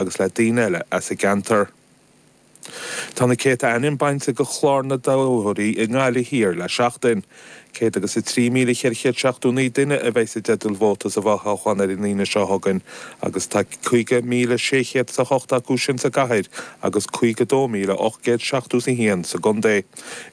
Agus le daoine eile as an gceantar. Tá na céadta ainm bainte de chlár na dtoghthóirí i nGaillimh Thiar le seachtain. 103,479 duine a bheidh i dteideal vóta sa bhfothoghchán ar an Aoine seo chugainn agus tá 50,608 acu sin sa gcathair agus 52,871 sa gcontae.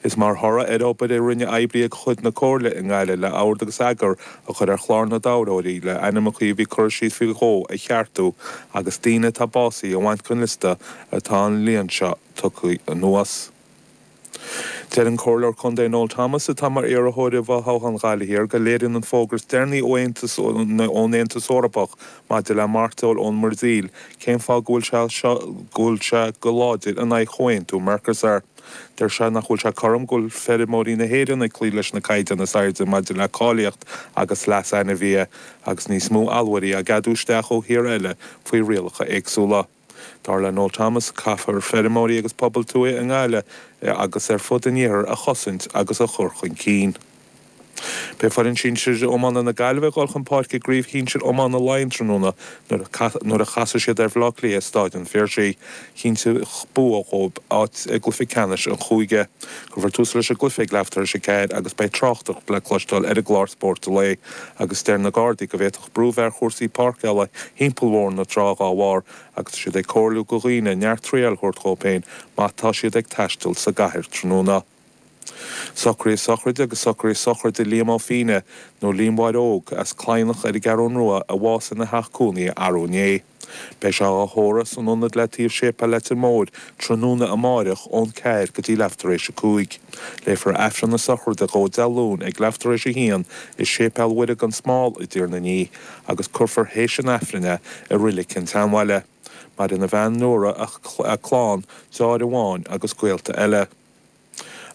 Is mar thoradh ar obair a rinne oibrithe de chuid na Comhairle i nGaillimh le ord agus eagar a chur ar chlár na dtoghthóirí le ainmneacha a bhí curtha síos faoi dhó a cheartú agus daoine atá básaithe a bhaint den liosta atá an líon seo tugtha anuas. Deir an Comhairleoir Contae Noel Thomas, atá mar iarrthóir i bhfothoghchán Ghaillimh Thiar, go léiríonn an fógra is deireanaí ón Aontas Eorpach maidir le mairteoil ón mBrasaíl cén fáth go bhfuil sé seo go bhfuil sé go láidir in aghaidh chomhaontú Mercosur. Deir sé nach bhfuil sé cothrom go bhfuil feirmeoirí na hÉireann ag cloí leis na caighdeáin is airde maidir le cáilíocht agus leas ainmhithe, agus níos mó allmhairí á gceadú isteach ó thíortha eile faoi rialacha éagsúla. Dar le Noel Thomas, caithfear feirmeoirí agus pobail tuaithe i nGaillimh agus ar fud an iarthair a chosaint agus a chur chun cinn. Beidh foireann sinsir iomána na Gaillimhe ag dul chun páirce i gCraobh Shinsir Iomána Laighean tráthnóna nuair a chasfaidh siad ar Bhaile Átha Cliath i Stáid an Phiarsaigh. Chinnteodh bua dhóibh áit i gcluiche ceannais an chúige. Cuirfear tús leis an gcluiche ag leath tar éis a ceathair agus beidh tráchtaireacht le cloisteáil ar an gclár Spórt an Lae agus deir na Gardaí go bhféadfadh brú bheith ar chúrsaí páirceála thimpeall Bhóthar na Trá dhá bharr agus tá siad ag comhairliú go dhaoine neart triall a thabhairt dhóibh féin má tá siad ag taisteal sa gcathair tráthnóna. Socruithe sochraide agus socruithe sochraide Liam Ó Fíne, nó Liam Mháire Óg, as Cladhnach ar an gCeathrún Rua a bhásaigh ina theach cónaithe arú inné. Beidh sé á thórramh san ionad le taobh Séipéal Leitir Móir tráthnóna amáireach ón ceathair go dtí leath tar éis a cúig. Léifear Aifreann na sochraide dhó Dé Luain ag leath tar éis a haon i Séipéal Mhuire gan Smál i dTír na Ní agus cuirfear théis an Aifrinn é i Reilig an tSeanbhaile. Maireann a bhean Nóra, a clann, deartháir amháin agus gaolta eile.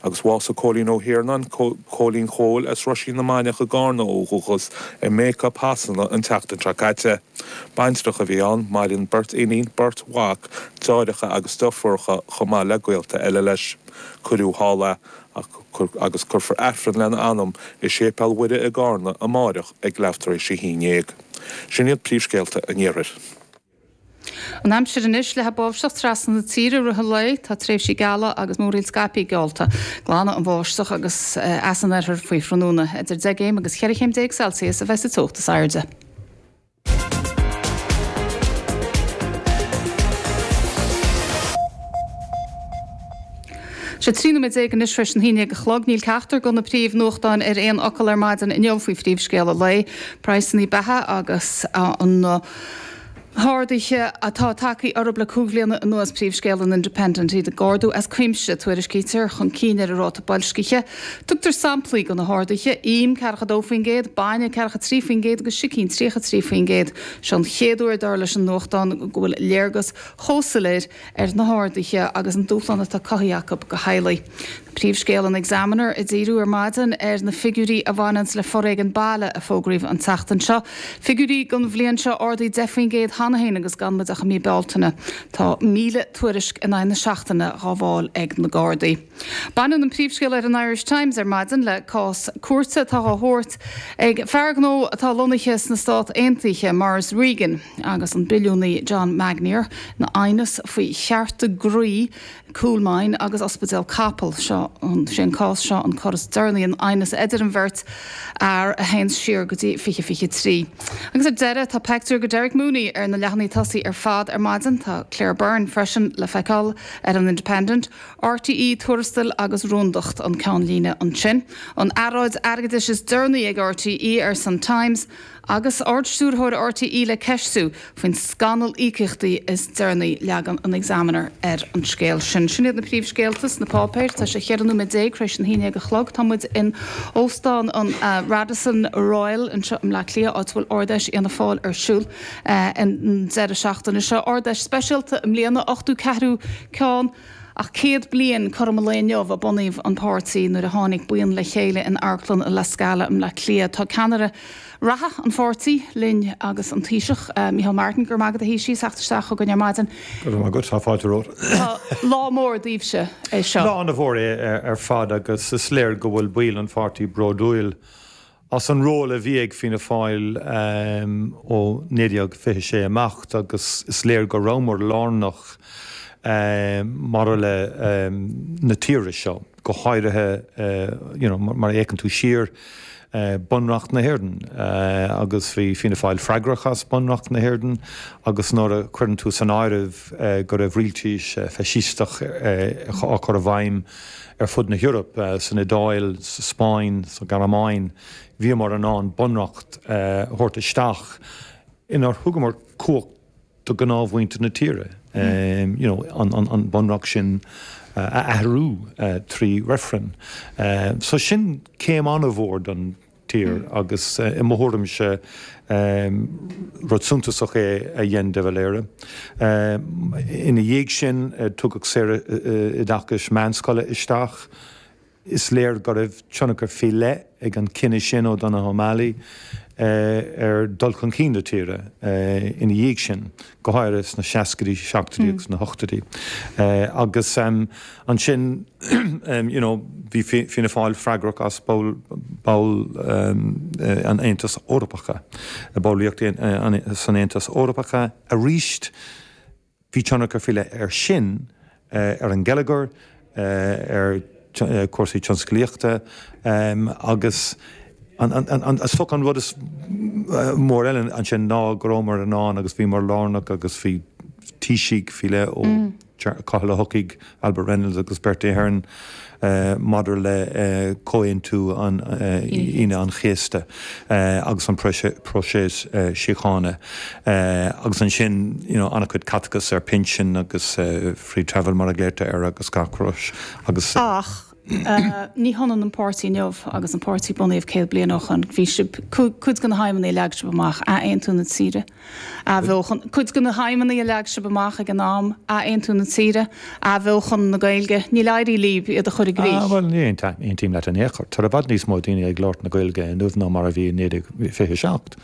Agus bhásaigh Cóilín Ó hIarnáin, Cóilín Chóil, as Roisín na Mainiach i gCarna ó dhúchas, i mBacup Shasana an tseachtain seo caite. Baintreach a bhí ann, maireann beirt iníon, beirt mhac, deartháireacha agus deirfiúracha chomh maith le gaolta eile leis. Cuireadh thall é, agus cuirfear Aifreann lena anam i Séipéal Mhuire i gCarna amáireach ag leath tar éis a haon dhéag. Sin iad príomhscéalta an Iarthair. An aimsir anois, Leathfaidh báisteach trasna na tíre i rith an lae. Tá tréimhsí geala agus múraíl scaipthe geallta. Glanfaidh an bháisteach agus as an oirthear faoi thráthnóna. Idir 10 gcéim agus 14 chéim Celsius a bheidh sa teocht is airde. Sé 13 nóiméad anois tar éis an haon déag a chlog. Níl ceachtar de na príomhnuachtáin ar aon fhocal ar maidin inniu faoi phríomhscéal an lae, praghsanna beatha agus an. harduithe atá tagtha orthu le cúig bhliana anuas, príomhscéal an Independent, iad ag ardú as cuimse, tuairiscítear, chun cinn ar an ráta boilscithe. Tugtar samplaí de na harduithe, im 42%, bainne 43% agus sicín 33%. Seo an chéad uair, dar leis an nuachtán, go bhfuil léargas chomh soiléir ar na harduithe agus an dúshlán atá cothaithe acu do theaghlaigh. Príomhscéal an Examiner ag díriú ar maidin ar na figiúirí a bhaineanns le foréigean baile a fógraíodh an tseachtain seo. Figiúirí don bhliain seo ardaithe 10% cheana féin agus gan muid ach i mí Bealtaine. Tá 1,000 tuairisc in aghaidh na seachtaine dhá bhfáil ag na Gardaí. Baineann an príomhscéal ar an Irish Times ar maidin le cás cúirte atá á thabhairt ag fear gnó atá lonnaithe sna Stát Aontaithe, Maurice Regan, agus an billiúnaí John Magnier ina aighneas faoi chearta groí Coolmine agus Ospidéal Capall. Seo sé an cás seo an cor is deireanaí in aighneas idir an bheirt fhear a théanns siar go dtí 2023. Agus ar deireadh, tá peictiúr de Derek Mooney ar na leathanaigh tosaigh ar fad ar maidin. Tá Claire Byrne freisin le feiceáil ar an Independent. RTÉ, Tuarastail agus Rúndacht an ceannlíne ansin. An earráid airgeadais is deireanaí ag RTÉ, arsa an Times. Agus Ard-Stiúrthóir RTÉ le ceistiú faoin scannal íocaíochtaí is deireanaí, leagann an Examiner ar an scéal sin. Sin iad na príomhscéalta sna páipéir. Tá sé 14 nóiméad tar éis an haon déag a chlog. Tá muid in Óstán an Radisson Royal anseo i mBleá Cliath, áit a bhfuil Ard-Fheis Fhianna Fáil ar siúl an deireadh seachtaine seo. Ard-Fheis speisialta i mbliana, 84ú ceann. Ach 100 bliain cothrom an lae inniu a bunaíodh an páirtí nuair a tháinig buíon le chéile in Amharclann La Scala i mBleá Cliath. Tá ceannaire reatha an pháirtí linn agus an Taoiseach, Micheál Martin. Go raibh maith agat a Thaoisigh as theacht isteach chugainn ar maidin. Go raibh maith agat, tá fáilte romhat. Tá lá mór daoibhse é seo. Lá ana-mhór é ar fad agus is léir go bhfuil baill an pháirtí bródúil. As an ról a bhí ag Fianna Fáil ó 1926 amach agus is léir go rabhamar lárnach maidir le na tíre seo, go háirithe you know mar a fhéacann tú siar, Bunreacht na hÉireann agus bhí Fianna Fáil freagrach as Bunreacht na hÉireann agus nuair a chuireann tú san áireamh go raibh rialtais faisisteach á cur i bhfeidhm ar fud na hEorpa, san Iodáil, sa Spáinn, sa Ghearmáin, bhíomar in ann bunreacht a thabhairt isteach inar thugamar cumhacht do ghnáthmhuintir na tíre, you know, an bunreacht sin a athrú trí reifreann. So sin céim an-mhór don tír agus i mo thuairimse rud suntasach é a dhein de Valera. Ina dhiaidh sin tugadh saoroideachas meánscoile isteach. Is léir go raibh tionchar faoi leith ag an cinneadh sin ó Donogh O'Malley ar dul chun cinn na tíre ina dhiaidh sin, go háirithe sna seascaidí, seachtóidí agus na hochtóidí. Agus ansin you know bhí Fianna Fáil freagrach as ball ball an Aontas Eorpacha, ballraíocht san Aontas Eorpacha arís. Bhí tionchar faoi leith air sin ar an ngeilleagar, ar chúrsaí tionsclaíochta agus is dócha an rud is mór eile ansin ná go rabhamar in ann agus bhíomar lárnach agus bhí taoisigh faoi leith ó Cathal Ó hEochaidh, Albert Reynolds agus Bertie Ahern maidir le Comhaontú Aoine an Chéasta agus an próiseas síochána agus ansin you know an-chuid caiteachas ar pinsin agus free travel mar a ghlaotar air agus gach rud agus. Ach ní hionann an páirtí inniu agus an páirtí bunaíodh 100 bliain ó shoin. Bhí sibh, cuid de na haidhmeanna a leag sibh amach, athaontú na tíre, Athbheochan, cuid de na haidhmeanna a leag sibh amach ag an am, athaontú na tíre, athbheochan na Gaeilge, níl éirithe libh iad a chur i gcrích. Ah, bhuel, ní aontaím leat in aon chor. Tá i bhfad níos mó daoine ag labhairt na Gaeilge inniu ná mar a bhí i 1927.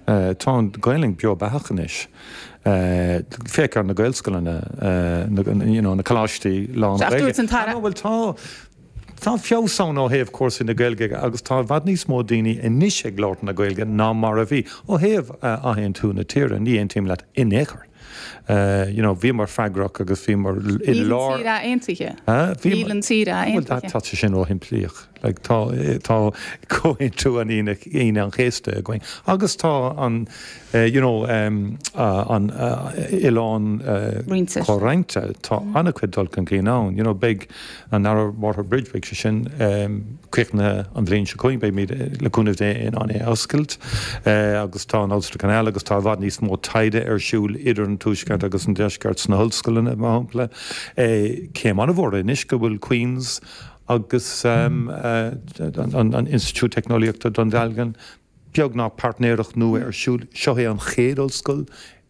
Tá an Ghaelainn beo beathach anois. Féach ar na Gaelscoileanna, you know, na coláistí lán-Ghaeilge. Dúirt an tAire. Bhuel, tá. Tá feabhas ann ó thaobh cúrsaí na Gaeilge agus tá i bhfad níos mó daoine anois ag labhairt na Gaeilge ná mar a bhí. Ó thaobh athaontú na tíre, ní aontaím leat in aon chor. You know, bhíomar freagrach agus bhíomar i lár. Níl an tír athaontaithe. Níl an tír athaontaithe. Bhuel, tá sé sin róshimplíoch. Like, tá, tá Comhaontú an Aoine an Chéasta againn agus tá an, you know, an oileán comhroinnte. Tá an-chuid dul chun cinn ann. You know, beidh an Narrow Water Bridge, beidh sé sin críochnaithe an bhliain seo chugainn, beimid, le cúnamh Dé, in ann é a oscailt. Agus tá an Ulster Canal agus tá i bhfad níos mó taighde ar siúl idir an Tuaisceart agus an Deisceart sna hollscoileanna, mar shampla. Céim an-mhór anois go bhfuil Queen's agus an Institiúid Teicneolaíochta Dún Dealgan, beagnach páirtnéireacht nua ar siúl. Seo é an chéad ollscoil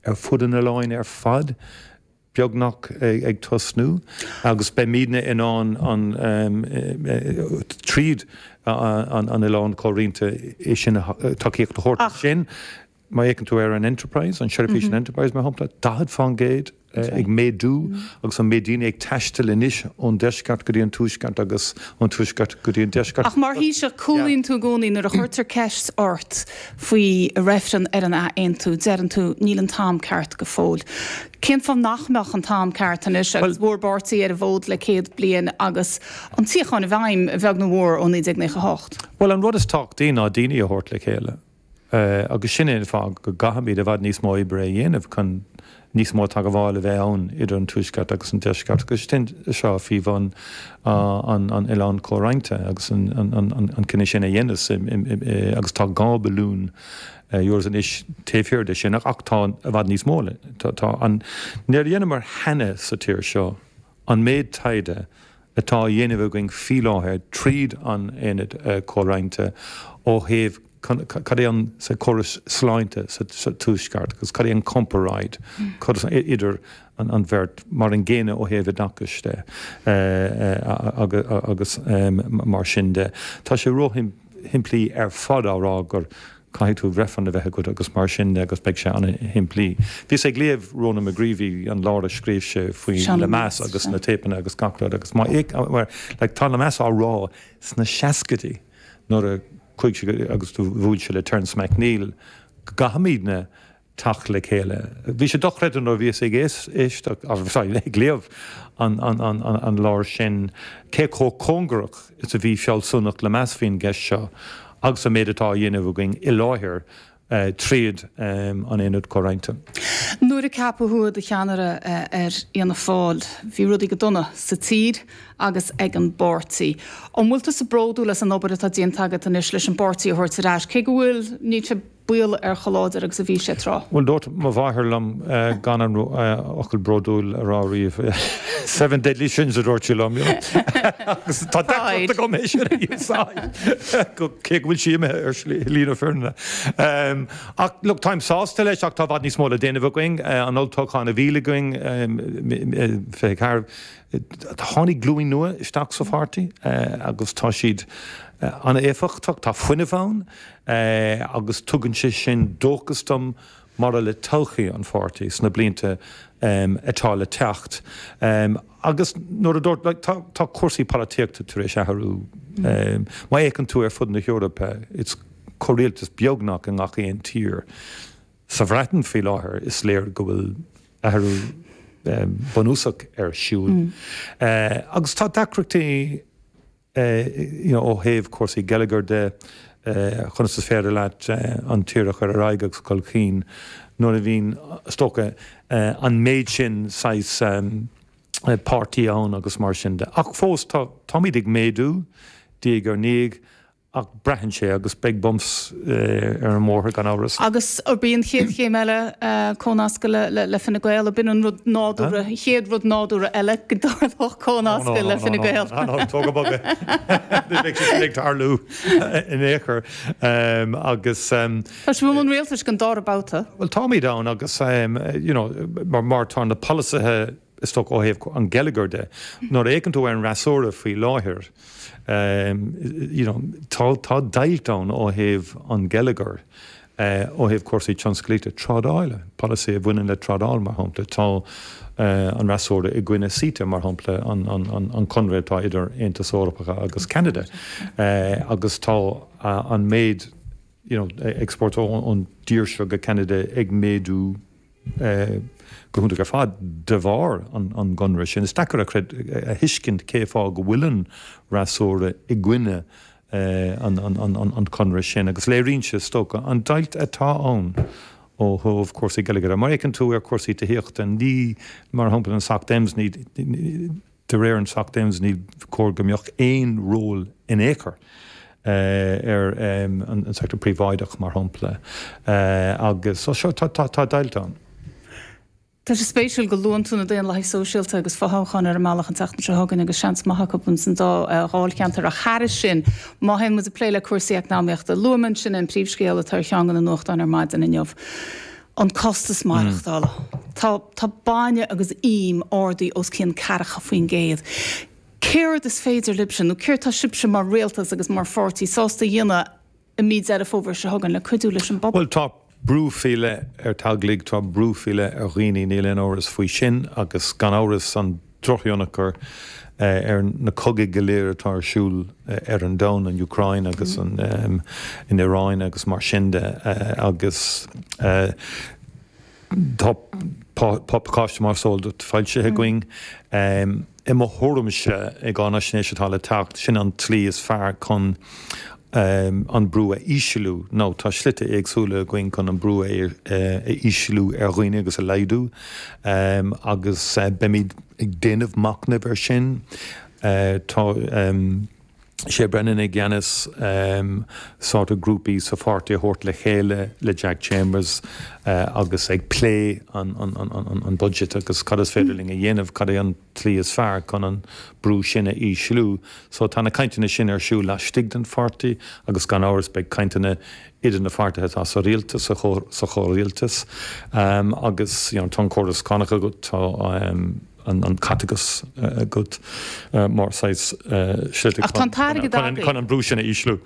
ar fud an oileáin ar fad, beagnach ag tosnú, agus beimidne in ann an tríd an oileán comhroinnte é sin tacaíocht a thabhairt sin. Má fhéachann tú ar an Enterprise, an seirbhís an Enterprise mar shampla, 40% ag méadú agus an méid daoine ag taisteal anois ón deisceart go dtí an tuaisceart agus ón tuaisceart go dtí an deisceart. Ach mar Thaoiseach, cúlaíonn tú i gcónaí nuair a chuirtear ceist ort faoi reifreann ar an athaontú, deireann tú níl an t-am ceart go fóill. Cén fáth nach mbeadh an t-am ceart anois agus bhur bpáirtí ar an bhfód le 100 bliain agus an tsíocháin i bhfeidhm, a bheag nó a mhór, ó 1998? Bhuel, an rud is tábhachtaí ná daoine a thabhairt le chéile. Agus sin é an fáth go gcaithfimid i bhfad níos mó oibre a dhéanamh chun níos mó teagmháil a bheith ann idir an Tuaisceart agus an Deisceart agus sin seo faoi bhun an oileáin chomhroinnte agus an cinneadh sin a dhéanamh agus tá 2 billiún euros anois taobh thiar de sin ach tá i bhfad níos mó tá an níor dheineamar cheana sa tír seo an méid taighde atá á dhéanamh againn faoi láthair tríd an Aonad Comhroinnte ó thaobh cad é an córas sláinte sa Tuaisceart agus cad é an comparáid idir an bheirt, mar an gcéanna ó thaobh oideachais de agus mar sin de. Tá sé róshimplí ar fad á rá gur Caithfidh tú reifreann a bheith agat agus mar sin de agus beidh sé an-shimplí. Bhíos ag léamh Ronan McGreevy, an leabhar a scríobh sé faoi Lemass agus na téipeanna agus gach rud agus má like tá Lemass á rá sna seascaidí nuair a. Chuaigh sé agus do bhuail sé le Terence MacNeill go gcaithfimidne teacht le chéile. Bhí sé dochreidte nuair a bhíos ag éisteacht, sorry, ag léamh an leabhar sin cé chomh cóngarach is a bhí fealsúnacht Lemass faoin gceist seo agus an méid atá á dhéanamh againn i láthair tríd an Aonad Comhroinnte. Nuair a ceapadh thú i do cheannaire ar Fhianna Fáil, bhí rudaí go dona sa tír agus ag an bpáirtí. An bhfuil tusa bródúil as an obair atá déanta agat anois leis an bpáirtí a thabhairt ar ais, cé go bhfuil, níl sé baol ar chomh láidir agus a bhí sé tráth. Bhuel, dúirt mo mháthair liom gan an fhocal bródúil a rá riamh. Seven deadly sins a dúirt sí liom, you know. Agus tá deacracht agam é sin a úsáid, cé go bhfuil sí imithe ar shlí na fírinne. Ach look, táim sásta leis ach tá i bhfad níos mó le déanamh againn. An olltoghchán a bhí againn, 24, Tháinig glúin nua isteach sa pháirtí agus tá siad an-éifeachtach, tá fuinneamh ann agus tugann sé sin dóchas dom maidir le todhchaí an pháirtí sna blianta atá le teacht. Agus nuair a dúirt, like, tá, tá cúrsaí polaitíochta tar éis athrú. Má fhéachann tú ar fud na hEorpa, it's comhrialtas beagnach i ngach aon tír. Sa Bhreatain faoi láthair is léir go bhfuil athrú bunúsach ar siúl. Agus tá deacrachtaí ó thaobh cúrsaí geilleagair de, conas is féidir leat an tír a chur ar aghaidh agus chun cinn nuair a bhíonn, is dócha, an méid sin saghas páirtí ann agus mar sin de. Ach fós tá, táimid ag méadú diaidh ar ndiaidh Ach braitheann sé, agus beidh bumps ar an mbóthar gan amhras. Agus arb í an chéad chéim eile cónascadh le Fine Gael? Ab in an rud nádúrtha, an chéad rud nádúrtha eile go dtarlódh cónascadh le Fine Gael? No, no, no, tóg go bog é. Ní bheidh sé sin ag tarlú in aon chor. Agus. Tá sibh i mbun rialtais don dara babhta. Bhuel, táimid ann agus, you know, mar tá na polasaithe, is dócha ó thaobh an gheilleagair de, nuair a fhéachann tú ar an fhreasúra faoi láthair, you know, tá, tá deighilt ann ó thaobh an gheilleagair, ó thaobh cúrsaí tionsclaíochta, trádála, polasaí a bhaineann le trádáil, mar shampla. Tá an fhreasúra i gcoinne CETA, mar shampla, an, an, an, an conradh atá idir Aontas Eorpach agus Ceanada, agus tá an méid, you know, export ón dtír seo go Ceanada ag méadú go hiontach ar fad de bharr an gconradh sin. Is deacair a thuiscint cé fáth go bhfuil an fhreasúra i gcoinne an chonradh sin agus léiríonn sé, is dócha, an deighilt atá ann ó thaobh cúrsaí geilleagair. Má fhéachann tú ar chúrsaí tithíochta, ní, mar shampla, an Soc Dems, ní, De réir an Soc Dems ní chóir go mbeadh aon ról in aon chor ar an sector príobháideach, mar shampla, agus so seo tá deighilt ann. Tá sé spéisiúil go luann tú na Daonlathaigh Sóisialta agus fothoghchán ar an mbealach an tseachtain seo chugainn agus seans maith acu ins an dá dháilcheantar ach thairis sin, má théann muid ag plé le cúrsaí eacnamaíochta, luaigh mé ansin an príomhscéal atá ar cheann de na nuachtáin ar maidin inniu. An costas maireachtála. Tá tá bainne agus im ardaithe os cionn 40%. Céard is féidir libhse, nó céard tá sibhse mar rialtas agus mar pháirtí sásta a dhéanamh i mí Deireadh Fómhair seo chugainn le cuidiú leis an bpobal? Bhuel, tá brú faoi leith ar teaghlaigh, tá brú faoi leith ar dhaoine, níl aon amhras faoi sin, agus gan amhras an drochthionchar ar na cogaidh go léir atá ar siúl ar an domhan, an Úcráin agus an Iaráin agus mar sin de agus tá pacáiste mar is eol duit foilsithe againn. I mo thuairimse, i gcáinaisnéis atá le teacht, sin an tslí is fearr chun an brú a ísliú nó tá slite éagsúla againn chun an brú a ísliú ar dhaoine agus a laghdú agus beimid ag déanamh machnaimh ar sin. Tá Shay Brennan i gceannas sort of grúpaí sa pháirtí a thabhairt le chéile le Jack Chambers agus ag plé an budget agus cad is féidir linn a dhéanamh, cad é an tslí is fearr chun an brú sin a ísliú. So tá na cainteanna sin ar siúl laistigh den pháirtí agus gan amhras beidh cainteanna idir na pháirtithe atá sa rialtas, sa chomhrialtas agus you know tá an córas cánach agat, tá an caiteachas agat mar saghas slite Ach tá an t-airgead agaibh. chun an brú sin a ísliú.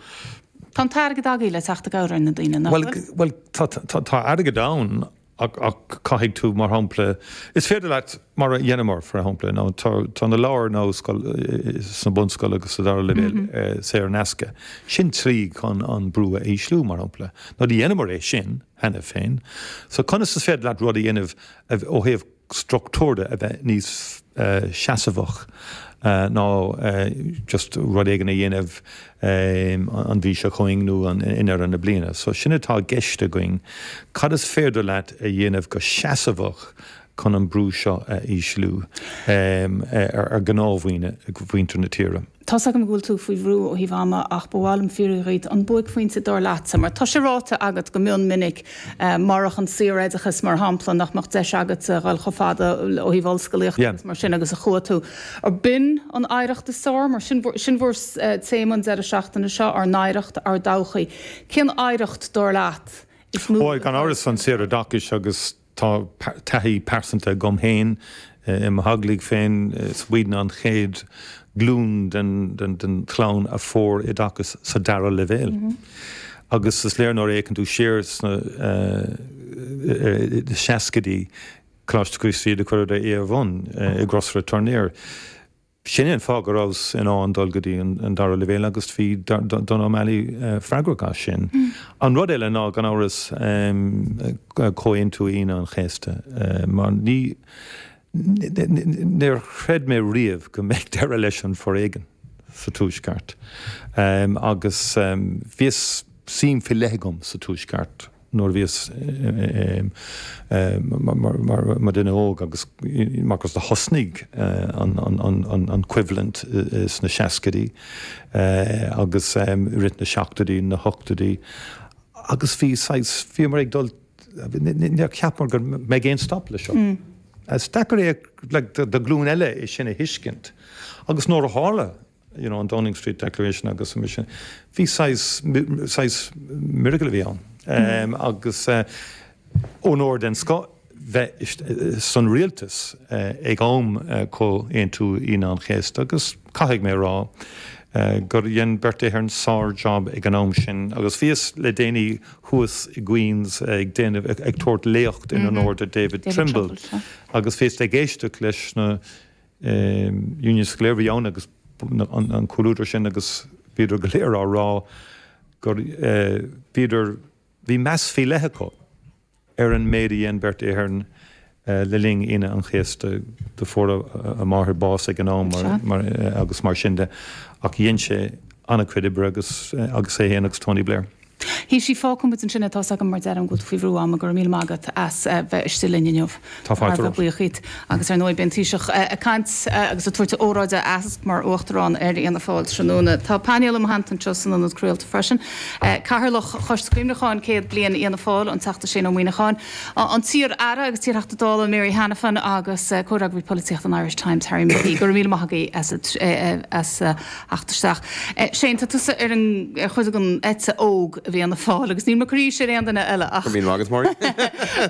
Tá an t-airgead agaibh le teacht i gcabhair ar na daoine, nach bhfuil? Bhuel, tá airgead ann. Ach caithfidh tú, mar shampla, is féidir leat, mar a dheineamar, for shampla, nó tá na leabhair nó sna bunscoil agus sa dara leibhéal saor in aisce. Sin tslí chun an brú a ísliú, mar shampla. Nó do dheineamar é sin cheana féin. So conas is féidir leat rud a dhéanamh ó thaobh struchtúr de a bheith níos seasamhach ná just rud éigin a dhéanamh an mhí seo chugainn nó i ndeireadh na bliana. So sin atá i gceist againn. Cad is féidir leat a dhéanamh go seasamhach chun an brú seo a ísliú ar ghnáthdhaoine, mhuintir na tíre? Tá's agam go bhfuil tú faoi bhrú ó thaobh ama ach ba mhaith liom fiafraí dhíot an buaicphointe dar leatsa, mar tá sé ráite agat go mion minic, marach an saoroideachas mar shampla, nach mbeadh deis agatsa a dhul chomh fada ó thaobh ollscolaíochta agus mar sin agus a chuaigh tú. Ar b'in an oidhreacht is fearr? Mar sin sin bhur téama an deireadh seachtaine seo, ár n-oidhreacht, ár dtodhchaí. Cén oidhreacht dar leat is mó Bhuel, gan amhras an saoroideachas agus Tá taithí pearsanta agam féin i mo theaghlaigh féin, is muidne an chéad ghlúin den chlann a fuair oideachas sa dara leibhéal. Agus is léir nuair a fhéachann tú siar sna seascaidí, Coláiste Chríost Rí do chuireadar é ar bun i gCrosaire Tournaire. Sin é an fáth go rabhas in ann dul go dtí an dara leibhéal agus bhí Donogh O'Malley freagrach as sin. An rud eile ná, gan amhras, Comhaontú Aoine an Chéasta, mar ní, níor chreid mé riamh go mbeadh deireadh leis an bhforéigean sa Tuaisceart. Agus bhíos suim faoi leith agam sa Tuaisceart. nuair a bhíos mar dhuine óg agus mar do thosnaigh an choimhlint sna seascaidí agus i rith na seachtóidí, na hochtóidí agus bhí saghas, bhíomar ag dul, níor cheapamar go mbeidh aon stop le seo. Is deacair é like do ghlúin eile é sin a thuiscint agus nuair a tharla you know, an Downing Street Declaration agus mar sin. Bhí saghas, saghas miracle a bhí ann. Agus onóir den scoth bheith san rialtas ag am Comhaontú Aoine an Chéasta agus caithfidh mé a rá gur dhein Bertie Ahern sár-job ag an am sin agus bhíos le déanaí thuas i gQueens ag déanamh, ag tabhairt léacht in onóir do David Trimble agus bhíos ag éisteacht leis na Unions go léir a bhí ann agus an comhluadar sin agus bhíodar go léir á rá gur bhíodar, bhí meas faoi leith acu ar an méid a dhein Bertie Ahern le linn Aoine an Chéasta. Do fuair a máthair bás ag an am agus mar sin de ach dhein sé an-chuid oibre agus agus é féin agus Tony Blair. Thaoisigh, fágfaidh muid ansin é, tá's agam mar deirim go bhfuil tú faoi bhrú ama, go raibh míle maith agat as bheith istigh linn inniu. Tá fáilte romhat. Buíoch díot. Agus ar ndóigh beidh an Taoiseach ag caint agus ag tabhairt óráide aitheasc mar Uachtarán ar Fhianna Fáil tráthnóna. Tá painéal i mo theannta anseo san ionad craolta freisin. Cathaoirleach Choiste Cuimhneacháin 100 Bliain Fhianna Fáil, an Teachta Shane Ó Muíneacháin, an t-iar-aire agus t-iarTheachta Dála Mary Hanafin agus comhfhreagraí polaitíochta an Irish Times Harry McKee. Go raibh míle maith agaibh as theacht isteach. Shane, tá tusa ar an, ar chuid den eite óg i bhFianna Fáil agus níl mé ag cur aois ar aon duine eile ach. Go raibh míle maith agat, Máirín.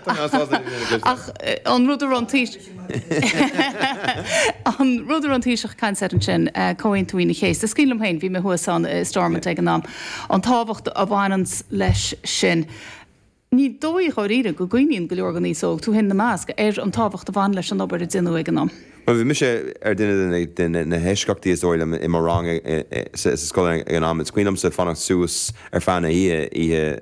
Tá mé an-sásta é a chloisteáil. Ach an rud a raibh an Taoiseach, an rud a raibh an Taoiseach ag caint air ansin, Comhaontú Aoine an Chéasta, is cuimhin liom féin, bhí mé thuas ann i Stormont ag an am, an tábhacht a bhaineanns leis sin. Ní dóigh dháiríre go gcuimhníonn go leor den aos óg, tú féin ina measc, ar an tábhacht a bhain leis an obair a déanadh ag an am. Bhuel, bhí mise ar duine de na heisceachtaí is dóigh liom i mo rang sa scoil ag an am. Is cuimhin liomsa fanacht suas ar feadh na hoíche, oíche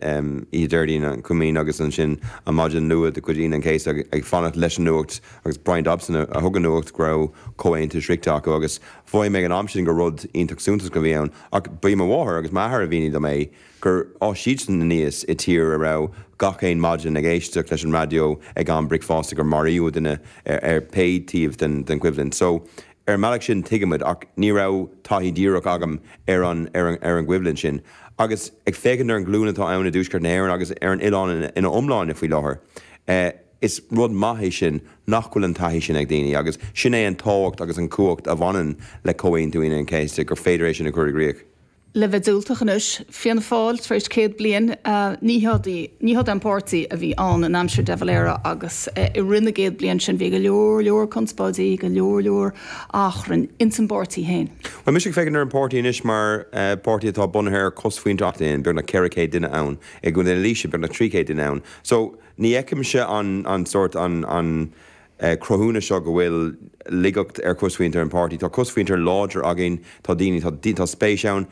oíche Déardaoin an Choimín agus ansin an maidin luath de chuid Aoine an Chéasta ag fanacht leis an nuacht agus Brian Dobson a thug an nuacht go raibh comhaontú sroichte acu agus mhothaigh mé ag an am sin gur rud iontach suntasach a bhí ann ach ba í mo mháthair agus m'athair a mhínigh dom é. gur fhás siadsan aníos i tír a raibh gach aon maidin ag éisteacht leis an raidió ag am bricfeasta gur maraíodh duine ar pé taobh den choimhlint. So, ar an mbealach sin tuigimid ach ní raibh taithí díreach agam ar an ar an gcoimhlint sin. Agus ag féachaint ar an ghlúin atá ann i dTuaisceart na hÉireann agus ar an oileán ina iomláine faoi láthair, is rud maith é sin nach bhfuil an taithí sin ag daoine agus sin é an tábhacht agus an cumhacht a bhaineann le Comhaontú Aoine an Chéasta gur féidir é sin a chur i gcrích. Le bheith diúltach anois, Fianna Fáil tar éis 100 bliain, ní hiod ní hiod an páirtí a bhí ann in aimsir de Valera agus i rith na gcéad bliain sin bhí go leor leor conspóidí, go leor leor achrainn ins an bpáirtí féin. Bhuel, mise ag féachaint ar an páirtí anois mar páirtí atá bunaithe ar chosmhuintir ann, beagnach 400 duine ann, i gContae na Laoise beagnach 300 duine ann. So, ní fheicimse an an sórt an an cruthúnas seo go bhfuil laigeacht ar chosmhuintir an páirtí. Tá cosmhuintir láidir againn, tá daoine, tá tá spéis ann.